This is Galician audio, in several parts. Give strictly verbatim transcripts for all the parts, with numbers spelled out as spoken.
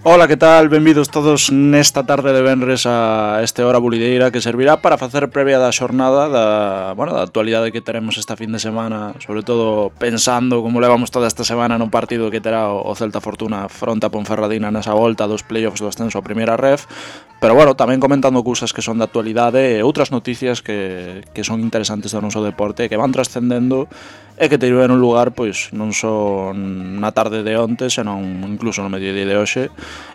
Ola, que tal? Benvidos todos nesta tarde de venres a este hora bulideira que servirá para facer previa da xornada da, bueno, da actualidade que teremos esta fin de semana, sobre todo pensando como levamos toda esta semana no partido que terá o Celta Fortuna fronte a Ponferradina nesa volta dos playoffs do ascenso a primeira ref, pero bueno, tamén comentando cousas que son da actualidade e outras noticias que, que son interesantes do noso deporte que van trascendendo e que tiveron lugar pois non só na tarde de onte, senón incluso no mediodía de hoxe,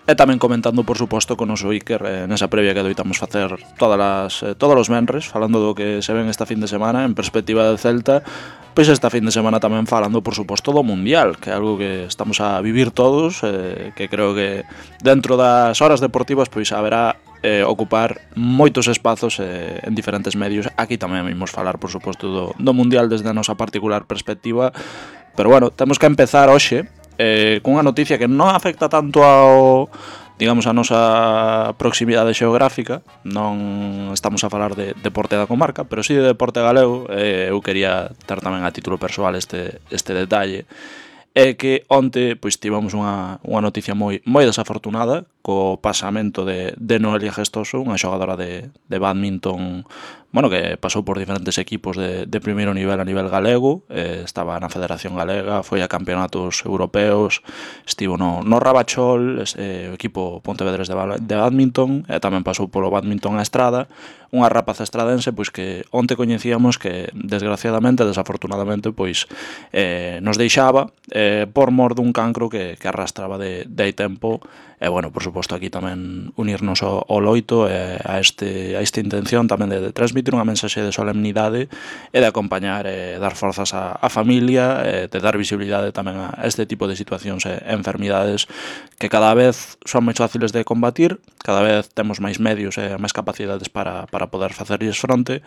e tamén comentando, por suposto, con o noso Iker eh, nesa previa que doitamos facer todas as, eh, todos os menres, falando do que se ven esta fin de semana en perspectiva de Celta, pois esta fin de semana tamén falando, por suposto, do Mundial, que é algo que estamos a vivir todos, eh, que creo que dentro das horas deportivas pois haberá eh, ocupar moitos espazos eh, en diferentes medios. Aquí tamén vimos falar, por suposto, do, do Mundial desde a nosa particular perspectiva, pero bueno, temos que empezar hoxe eh, cunha noticia que non afecta tanto ao, digamos, a nosa proximidade xeográfica. Non estamos a falar de deporte da comarca, pero si sí de deporte galego. eh, eu quería ter tamén a título persoal este, este detalle, é que onte pois tivemos unha, unha noticia moi moi desafortunada co pasamento de, de Noelia Gestoso, unha xogadora de, de badminton, bueno, que pasou por diferentes equipos de, de primeiro nivel a nivel galego, eh, estaba na Federación Galega, foi a campeonatos europeos, estivo no, no Rabachol, eh, o equipo Pontevedres de, de badminton, e tamén pasou polo badminton a Estrada, unha rapaza estradense pois que onte coñecíamos que desgraciadamente, desafortunadamente, pois eh, nos deixaba eh, por mor dun cancro que, que arrastraba de, de hai tempo. E, bueno, por suposto, aquí tamén unirnos ao, ao loito e a, este, a esta intención tamén de, de transmitir unha mensaxe de solemnidade e de acompañar e dar forzas á, á familia, e de dar visibilidade tamén a este tipo de situacións e enfermidades que cada vez son máis fáciles de combatir, cada vez temos máis medios e máis capacidades para, para poder facerlles fronte,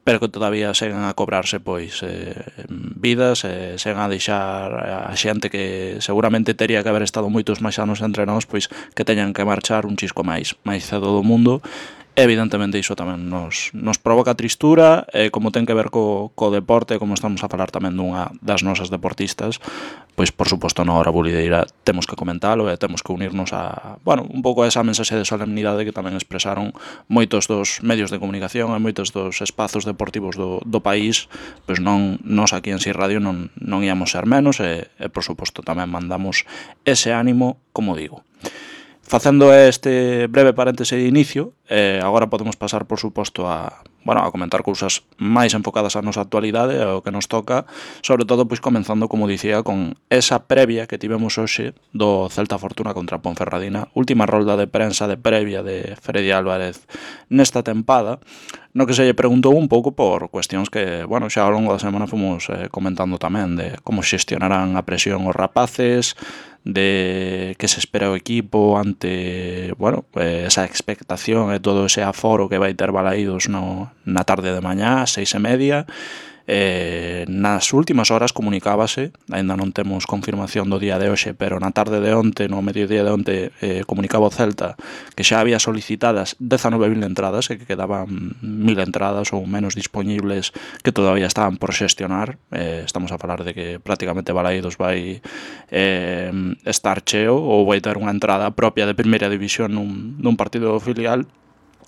pero que todavía seguen a cobrarse pois eh, vidas, e seguen a deixar a xente que seguramente teria que haber estado moitos máis anos entre nós, pois que teñan que marchar un chisco máis máis cedo do mundo. Evidentemente iso tamén nos, nos provoca tristura, e como ten que ver co, co deporte, como estamos a falar tamén dunha das nosas deportistas, pois por suposto na hora bulideira temos que comentalo e temos que unirnos a, bueno, un pouco a esa mensaxe de solemnidade que tamén expresaron moitos dos medios de comunicación e moitos dos espazos deportivos do, do país. Pois non, nos aquí en Si Radio non, non íamos ser menos, e, e por suposto tamén mandamos ese ánimo, como digo. Facendo este breve paréntese de inicio, eh, agora podemos pasar, por suposto, a, bueno, a comentar cousas máis enfocadas á nosa actualidade, ao que nos toca, sobre todo, pois, comenzando, como dicía, con esa previa que tivemos hoxe do Celta Fortuna contra Ponferradina, última rolda de prensa de previa de Freddy Álvarez nesta tempada, no que se lle preguntou un pouco por cuestións que, bueno, xa ao longo da semana fomos eh, comentando tamén, de como xestionarán a presión os rapaces, de que se espera o equipo ante, bueno, esa expectación e todo ese aforo que vai ter Balaídos no, na tarde de mañá, seis e media. Eh, nas últimas horas comunicábase, aínda non temos confirmación do día de hoxe, pero na tarde de onte, no mediodía de onte, eh, comunicaba o Celta que xa había solicitadas dezanove mil entradas e que quedaban mil entradas ou menos dispoñibles que todavía estaban por xestionar. Eh, estamos a falar de que prácticamente Balaídos vai eh, estar cheo ou vai ter unha entrada propia de primeira división nun, nun partido filial.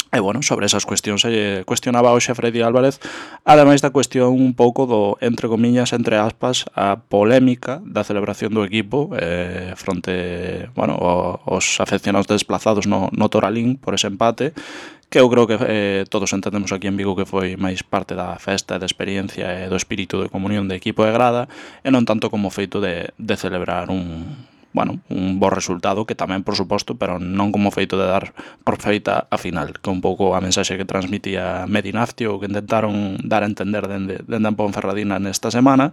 E, bueno, sobre esas cuestións se cuestionaba hoxe a Freddy Álvarez, ademais da cuestión un pouco do, entre comillas, entre aspas, a polémica da celebración do equipo eh, fronte, bueno, os afeccionados desplazados no, no Toralín por ese empate, que eu creo que eh, todos entendemos aquí en Vigo que foi máis parte da festa, da experiencia e do espírito de comunión de equipo e grada, e non tanto como feito de, de celebrar un... bueno, un bo resultado, que tamén, por suposto, pero non como feito de dar por feita a final, que un pouco a mensaxe que transmitía Medinafti, ou que intentaron dar a entender dende, dende a Ponferradina nesta semana,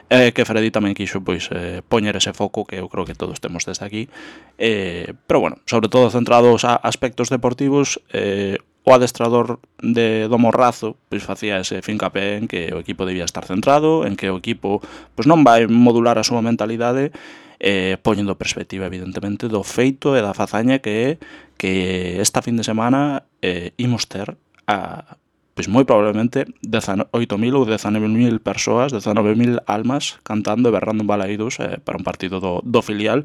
e que Freddy tamén quixo pois eh, poñer ese foco que eu creo que todos temos desde aquí, eh, pero bueno, sobre todo centrados a aspectos deportivos. eh, O adestrador de do Morrazo pois facía ese fincapé en que o equipo debía estar centrado, en que o equipo pois non vai modular a súa mentalidade, eh, poñendo perspectiva, evidentemente, do feito e da fazaña que é que esta fin de semana eh, imos ter a, pois moi probablemente dezaoito mil ou dezanove mil persoas, dezanove mil almas cantando e berrando en Balaídos eh, para un partido do, do filial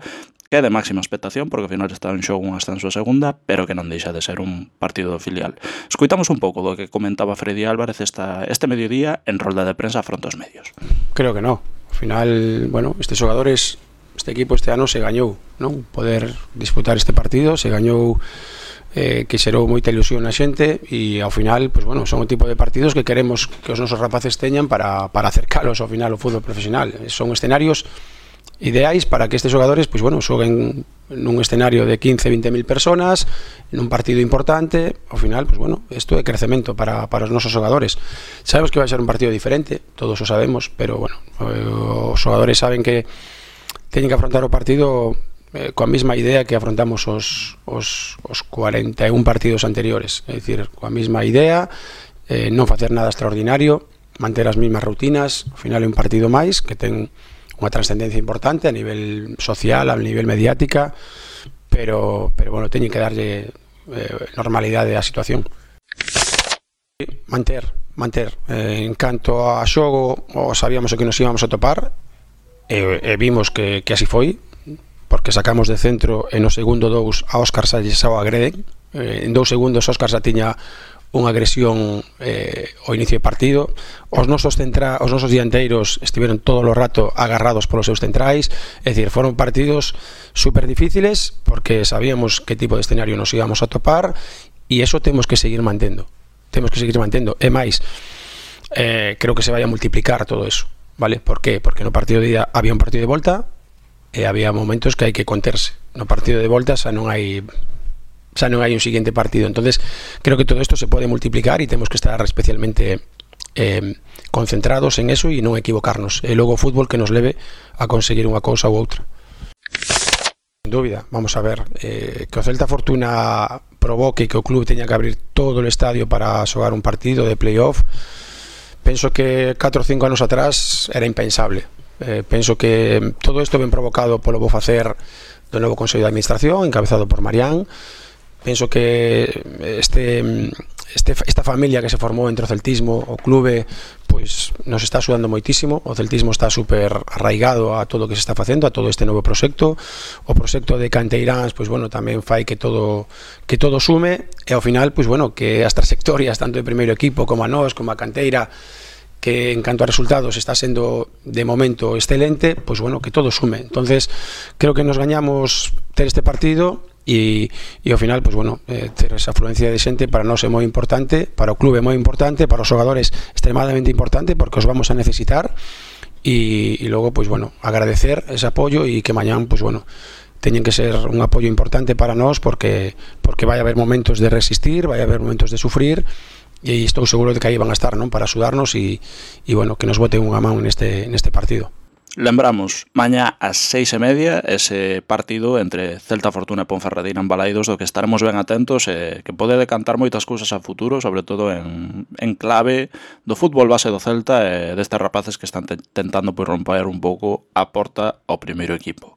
que é de máxima expectación porque ao final está en xogo un ascenso a segunda, pero que non deixa de ser un partido do filial. Escoitamos un pouco do que comentaba Freddy Álvarez esta, este mediodía en rolda de prensa fronte aos medios. Creo que no. Ao final, bueno, estes xogadores, este equipo este ano se gañou, non? Poder disputar este partido, se gañou eh, que xerou moita ilusión na xente e ao final, pues bueno, son o tipo de partidos que queremos que os nosos rapaces teñan para, para acercalos ao final ao fútbol profesional. Son escenarios ideais para que estes xogadores pois bueno, xoguen nun escenario de quince, vinte mil personas nun partido importante. Ao final, pois bueno, isto é crecemento para, para os nosos xogadores. Sabemos que vai ser un partido diferente, todos o sabemos, pero bueno, os xogadores saben que teñen que afrontar o partido eh, coa mesma idea que afrontamos os, os, os cuarenta e un partidos anteriores, é dicir, coa mesma idea, eh, non facer nada extraordinario, manter as mesmas rutinas. Ao final é un partido máis que ten unha trascendencia importante a nivel social, a nivel mediática, pero, pero bueno, teñen que darlle eh, normalidade á situación. Manter, manter. Eh, en canto a xogo, o sabíamos o que nos íbamos a topar, e, e vimos que, que así foi, porque sacamos de centro e no segundo dous a Óscar Salles ao agreden. Eh, en dous segundos Óscar xa tiña unha agresión eh, ao inicio de partido. Os nosos, centra, os nosos dianteiros estiveron todo o rato agarrados polos seus centrais, é dicir, foron partidos super difíciles porque sabíamos que tipo de escenario nos íbamos a topar e eso temos que seguir mantendo temos que seguir mantendo e máis, eh, creo que se vai a multiplicar todo eso, vale? Por qué? Porque no partido de ida había un partido de volta e había momentos que hai que conterse. No partido de volta xa non hai xa non hai un siguiente partido. Entonces creo que todo isto se pode multiplicar e temos que estar especialmente eh, concentrados en eso e non equivocarnos. E logo o fútbol que nos leve a conseguir unha cousa ou outra. Sin dúbida, vamos a ver, eh, que o Celta Fortuna provoque que o club teña que abrir todo o estadio para xogar un partido de playoff, penso que catro ou cinco anos atrás era impensable. Eh, penso que todo isto ben provocado polo bo facer do novo Consello de Administración encabezado por Marián. Penso que este, este, esta familia que se formou entre o celtismo, o clube, pois nos está axudando moitísimo. O celtismo está super arraigado a todo o que se está facendo, a todo este novo proxecto. O proxecto de Canteiráns, pois bueno, tamén fai que todo que todo sume e ao final, pois bueno, que as trayectorias tanto de primeiro equipo como a nós, como a Canteira, que en canto a resultados está sendo de momento excelente, pois bueno, que todo sume. Entonces, creo que nos gañamos ter este partido e, e ao final, pois bueno, eh, ter esa afluencia de xente para nós é moi importante, para o clube é moi importante, para os xogadores extremadamente importante porque os vamos a necesitar e, e logo, pois bueno, agradecer ese apoio e que mañán, pois bueno, teñen que ser un apoio importante para nós porque porque vai haber momentos de resistir, vai haber momentos de sufrir e estou seguro de que aí van a estar, non, para axudarnos e, e bueno, que nos boten unha man neste, neste partido. Lembramos, mañá ás seis e media ese partido entre Celta Fortuna e Ponferradina en Balaídos do que estaremos ben atentos e que pode decantar moitas cousas a futuro, sobre todo en, en clave do fútbol base do Celta e destes rapaces que están te, tentando pois, romper un pouco a porta ao primeiro equipo.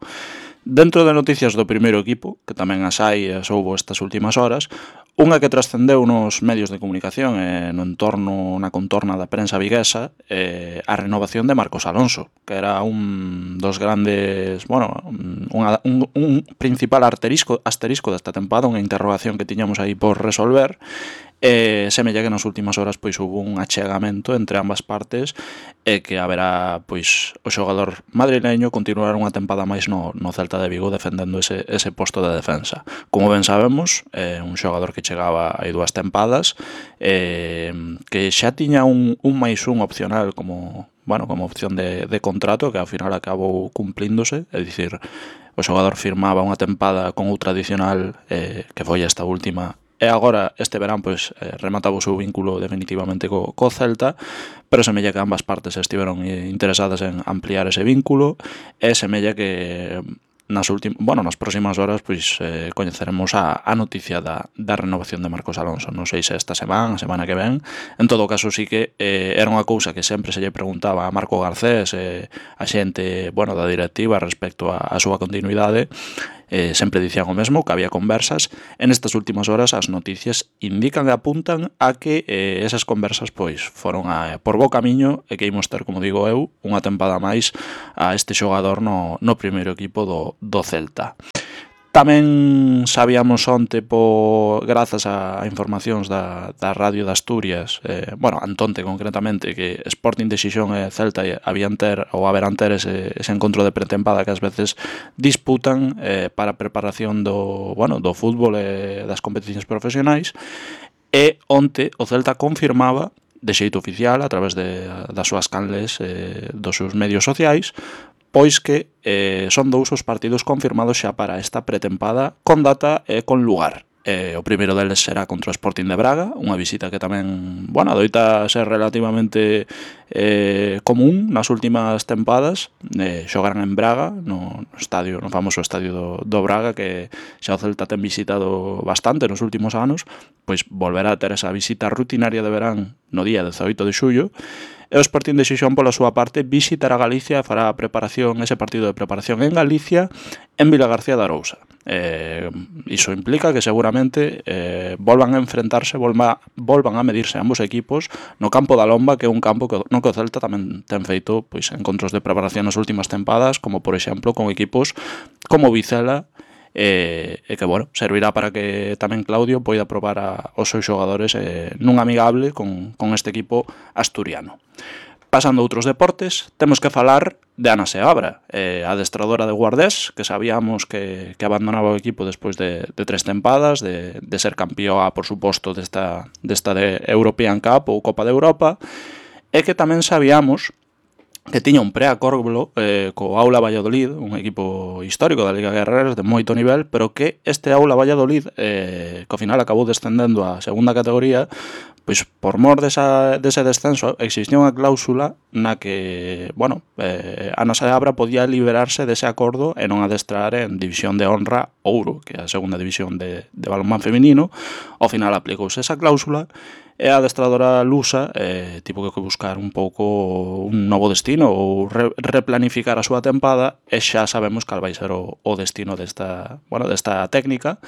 Dentro de noticias do primeiro equipo, que tamén as hai e as houbo estas últimas horas, unha que trascendeu nos medios de comunicación e no entorno, na contorna da prensa viguesa, é a renovación de Marcos Alonso, que era un dos grandes, bueno, unha, un, un principal asterisco, asterisco desta tempada, unha interrogación que tiñamos aí por resolver. E semella que nas últimas horas pois hubo un achegamento entre ambas partes e que haberá pois o xogador madrileño continuar unha tempada máis no, no Celta de Vigo defendendo ese, ese posto de defensa. Como ben sabemos, é un xogador que chegaba aí dúas tempadas, eh, que xa tiña un, un máis un opcional como, bueno, como opción de, de contrato que ao final acabou cumplíndose, é dicir, o xogador firmaba unha tempada con outra adicional eh, que foi esta última. E agora, este verán, pois, eh, remataba o seu vínculo definitivamente co, co Celta, pero semella que ambas partes estiveron interesadas en ampliar ese vínculo, e semella que nas últimas, bueno, nas próximas horas, pois, eh, coñeceremos a, a noticia da, da renovación de Marcos Alonso. Non sei se esta semana, a semana que ven. En todo caso, sí que eh, era unha cousa que sempre se lle preguntaba a Marco Garcés, eh, a xente, bueno, da directiva respecto a, a súa continuidade. eh, sempre dicían o mesmo, que había conversas, e nestas últimas horas as noticias indican e apuntan a que eh, esas conversas pois foron a, por bo camiño e que imos ter, como digo eu, unha tempada máis a este xogador no, no primeiro equipo do, do Celta. Tamén sabíamos onte, po, grazas a informacións da, da Radio de Asturias, eh, bueno, Antonte concretamente, que Sporting de Xixón e Celta habían ter, ou haberán ter ese, ese encontro de pretempada que ás veces disputan eh, para a preparación do, bueno, do fútbol e das competicións profesionais, e onte o Celta confirmaba de xeito oficial, a través de, das súas canles, eh, dos seus medios sociais, pois que eh, son dous os partidos confirmados xa para esta pretempada, con data e con lugar. Eh, o primeiro deles será contra o Sporting de Braga, unha visita que tamén, bueno, adoita ser relativamente eh, común nas últimas tempadas. Eh, xogarán en Braga, no, no estadio, no famoso estadio do, do Braga, que xa o Celta ten visitado bastante nos últimos anos, pois volverá a ter esa visita rutinaria de verán no día dezaoito de xullo. E o Sporting de Xixón, pola súa parte, visitará Galicia e fará a preparación, ese partido de preparación en Galicia, en Vilagarcía de Arousa. Eh, iso implica que seguramente eh, volvan a enfrentarse, volva, volvan a medirse ambos equipos no campo da Lomba, que é un campo que, no que o Celta tamén ten feito pois, encontros de preparación nas últimas tempadas, como por exemplo con equipos como Vicela, e, e que, bueno, servirá para que tamén Claudio poida probar a, os seus xogadores eh, nun amigable con, con este equipo asturiano. Pasando a outros deportes, temos que falar de Ana Seabra, eh, adestradora de Guardés, que sabíamos que, que abandonaba o equipo despois de, de tres tempadas, de, de ser campeoa, por suposto, desta, desta de European Cup ou Copa de Europa, e que tamén sabíamos que tiña un preacordo eh, co Aula Valladolid, un equipo histórico da Liga Guerreras de moito nivel, pero que este Aula Valladolid, eh, que ao final acabou descendendo a segunda categoría, pois por mor desa, dese descenso existía unha cláusula na que, bueno, eh, Ana Seabra podía liberarse dese acordo e non adestrar en División de Honra Ouro, que é a segunda división de, de balonmán feminino. Ao final aplicouse esa cláusula e a adestradora lusa eh, tivo que buscar un pouco un novo destino ou re, replanificar a súa tempada, e xa sabemos cal vai ser o, o destino desta, bueno, desta técnica,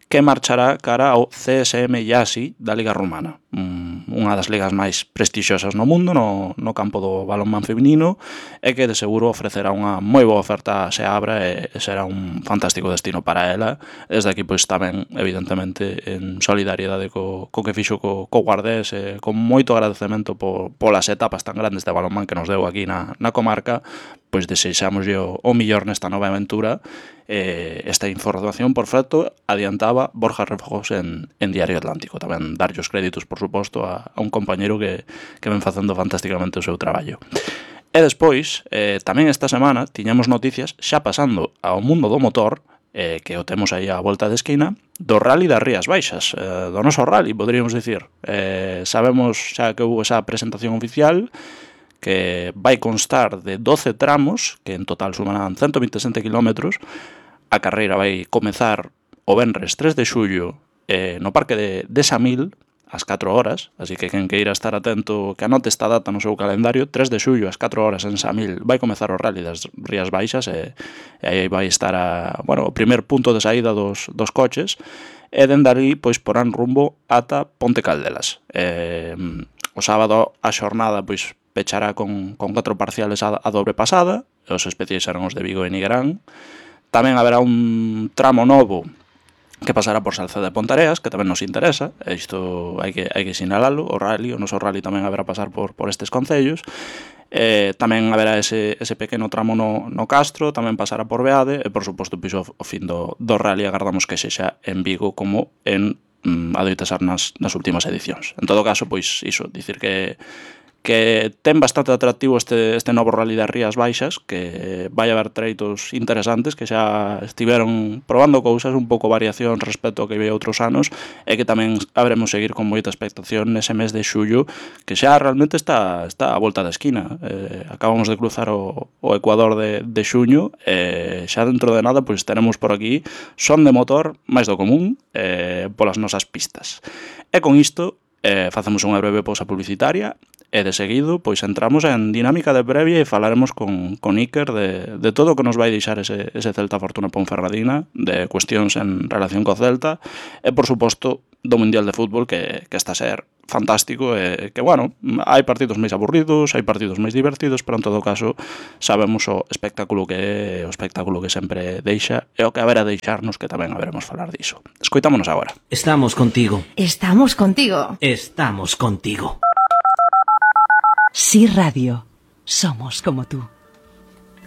que marchará cara ao C S M Iasi da Liga Rumana, unha das ligas máis prestixiosas no mundo no, no campo do balonmán feminino, e que de seguro ofrecerá unha moi boa oferta a Seabra e será un fantástico destino para ela. Desde aquí, pois tamén, evidentemente, en solidariedade co, co que fixo co, co Guardés, e con moito agradecemento por, polas etapas tan grandes de balonmán que nos deu aquí na, na comarca, pois desexamos o, o millor nesta nova aventura. Eh, esta información, por certo, adiantaba Borja Refojos en, en Diario Atlántico. Tamén darlle os créditos, por suposto, a, a un compañeiro que, que ven facendo fantásticamente o seu traballo. E despois, eh, tamén esta semana, tiñamos noticias, xa pasando ao mundo do motor, eh, que o temos aí á volta de esquina, do Rally das Rías Baixas, eh, do noso rally, poderíamos dicir. Eh, sabemos xa que houve esa presentación oficial, que vai constar de doce tramos, que en total sumarán ciento vinte e sete kilómetros. A carreira vai comezar o venres tres de xullo eh, no Parque de, de Samil, ás catro horas, así que quen queira estar atento, que anote esta data no seu calendario. Tres de xullo ás catro horas en Samil vai comezar o Rally das Rías Baixas, e, e aí vai estar a, bueno, o primer punto de saída dos, dos coches, e dende ali pois porán rumbo ata Ponte Caldelas. Eh, o sábado a xornada pois pechará con, con catro parciales a, a dobre pasada, os especiais serán os de Vigo e Nigrán. Tamén haberá un tramo novo que pasará por Salceda de Pontareas, que tamén nos interesa, e isto hai que, hai que sinalalo. O rally, o noso rally tamén haberá pasar por, por estes concellos. Eh, tamén haberá ese, ese pequeno tramo no, no Castro, tamén pasará por Beade, e por suposto, pois, o, o fin do, do rally agardamos que sexa en Vigo como en mm, adoita ser nas, nas últimas edicións. En todo caso, pois iso, dicir que que ten bastante atractivo este, este novo Rally das Rías Baixas, que vai haber treitos interesantes, que xa estiveron probando cousas, un pouco variación respecto ao que veio outros anos, e que tamén habremos seguir con moita expectación nese mes de xullo, que xa realmente está, está a volta da esquina. Eh, acabamos de cruzar o, o Ecuador de, de xuño, e xa dentro de nada pois tenemos por aquí son de motor máis do común eh, polas nosas pistas. E con isto eh, facemos unha breve pausa publicitaria E de seguido, pois entramos en dinámica de previa e falaremos con, con Iker de, de todo o que nos vai deixar ese, ese Celta Fortuna Ponferradina, de cuestións en relación co Celta, e, por suposto, do Mundial de Fútbol, que, que está a ser fantástico, e que, bueno, hai partidos máis aburridos, hai partidos máis divertidos, pero en todo caso sabemos o espectáculo que é, o espectáculo que sempre deixa, e o que haberá deixarnos, que tamén haberemos falar diso. Escoitámonos agora. Estamos contigo. Estamos contigo. Estamos contigo. Sí Radio, somos como tú.